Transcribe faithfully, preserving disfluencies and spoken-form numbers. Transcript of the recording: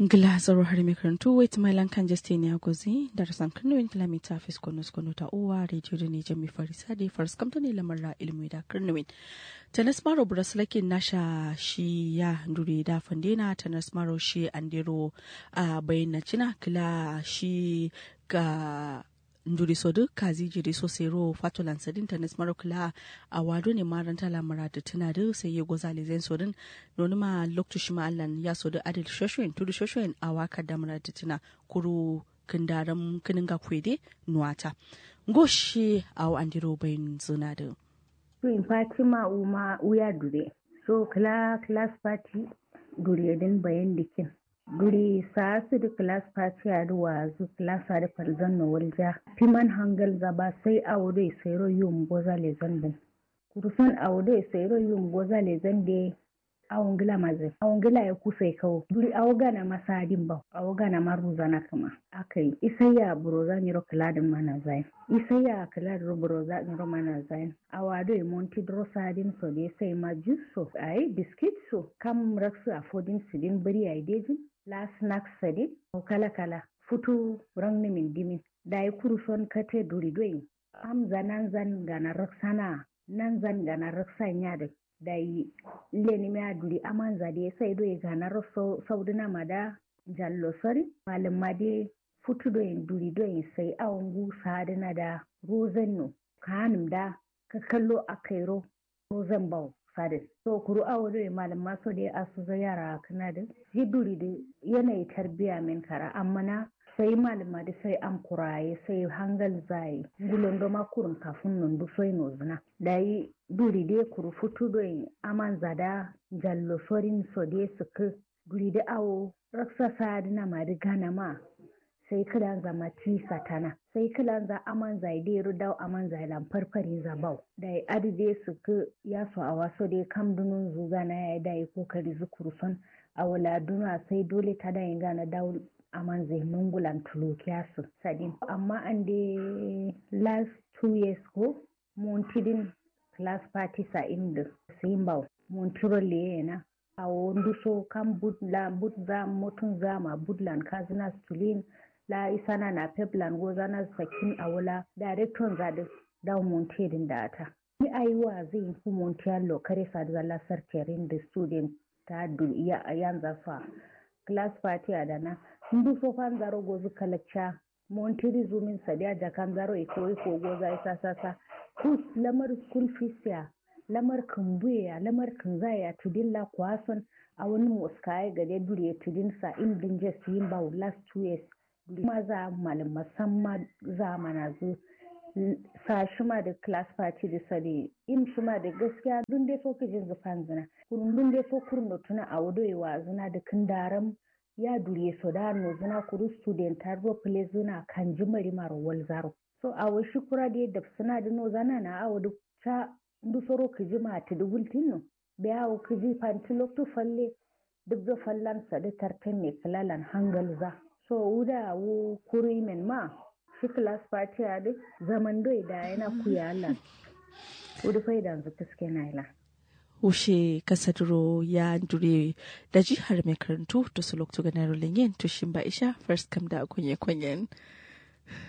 Ngla zauro harami karantu wai tǝmai lan kanje steniya gozi darasan kǝrnuwin kǝla mita fisko nusko nota uwa rediyo done jami farisa dai faraskam done lamarra ilmuwi da kǝrnuwin. Tanas maro bura sǝlakin nasha shi ya nduri da fandena tanas maro shi andero a bayyana cina kǝla shi ga nduri so dǝ kazi jiri so sero fatolan sadin tanis maro kǝla awa done maranta la muradu tǝna dǝ sai ye goza lezen so dǝn. Nonuma loktu shima allan ya so dǝ adil shoshoyin tudu shoshoyin awa kadda muradu tǝna kuru kǝndaram kǝnǝnga kuwe de nuwata. Ngo shi awo andiro bayin zǝna dǝ. Tuyin fatima uma uya dure so kǝla class party dure dǝn bayan dikin. Duri sa'a sǝdǝ kǝlas fatiya dǝ wa'azǝ kǝlas adǝ falzan no walja. Fiman hangal za ba sai awo doi sairo yum goza lezan dǝn. Kuruson awo doi sairo yum goza lezan de. Awo ngǝla mazǝ awo ngǝla ye kusai kawo duri awo gana ma sa'adin bawo awo gana ma ruzana kǝma. Akai isaiya buroza nyiro kǝladǝn mana zayin. Isaiya kǝladǝro buroza nyiro mana zayin. Awa doi monti duro sa'adin so de sai ma jus so ayi biskit so kam raksǝ afodin sǝdin bǝri yayi dejin. La snacks sadin awo kala kala futu rangnimin dimin. Dayi kuruson kate duri doyin. Amza nanzan gana raksana nanzan gana raksan yadin. Dayi lenimiya duri amanza de sai doyi gana rakso sauduna mada. Jallo sori malumma de futu doyin duri doyin sai awo ngu saduna da. Rozan no kanum da kakallo akairo. Rozan bawo sadin so kuru awo doi malumma so dai asuza yara kǝna dǝ. Ji duri dǝ yanayi tarbiya min kara amma na sai malumma dǝ sai amkura ye sai hangal zaye. Ngulondoma kurun kafun nondu soi nozǝna dayi duri dai kuru futu doi amanza da. Jallo sorin so dai sǝkkǝ duri dǝ awo raksa sadǝna ma dǝ gana ma. Sai kǝlanza ma ti satana sai kǝlanza amanza ye dero dawo amanza ye lan farfarinza bawo. Dayi adǝ de sǝkkǝ yaso awa so de kam dunonzu gana yayi dayi kokari zu kuruson. Awo la duna sai dole tada ye gana dawo amanza ye nungulan tulukiya sǝ sadin amma ande last two years ko. Monti din class party sa im dǝ sǝ yim bawo. Montiro leye yena awo nduso kam but la but za motun za ma but lan kazǝna stulin. La isana na pep lan gozana sakin awo la director za dǝ. Dawo monti ye dǝn da ata ni ayi wa'azǝ yin fu monti allo kare sadǝ zalla sarterin dǝ student ta dul yanza so a class party adana. Nduso fanzaro gozǝ kalakca. Montiri zumin sadiya jakanzaro iko iko goza isa sasa. Kus lamar school fees ya lamar kǝmbuye ya lamar kǝnzaye ya tudin la kuwason. Awon moskaye gade duriye tudin sa im dǝnje siyin bawo last two years. Duri maza malum masamma zamana zu. Sa shima dǝ class party dǝ sadi im shima dǝ gaskiya dunde so kǝjin zǝ fanzǝna. Kuru dunde so kurno tuna awo doye wazǝna dǝ kǝndaram. Ya duriye so da nozǝna kuru student adǝ ro pǝlezǝna kanjǝ mari maro walzaro. So awo shi kura dǝ ye dapsǝna dǝ nozana na awo dǝ ca ndusoro kǝjǝ ma tǝdǝ wultin no. Biya awo kǝjǝ fantǝ loktu falle dǝgga fallan sadǝ tartǝn ne kǝlalan hangalza. So wuda awo kuru yimen ma shi class party adǝ zaman doi da yana kuya allan. Wudu faidanzǝ kǝskena ye lan. Wushe kasaduro ya ndure daji har mai karantu to su loktu ganaro lenyen to shimba isha first kam da konye konyen.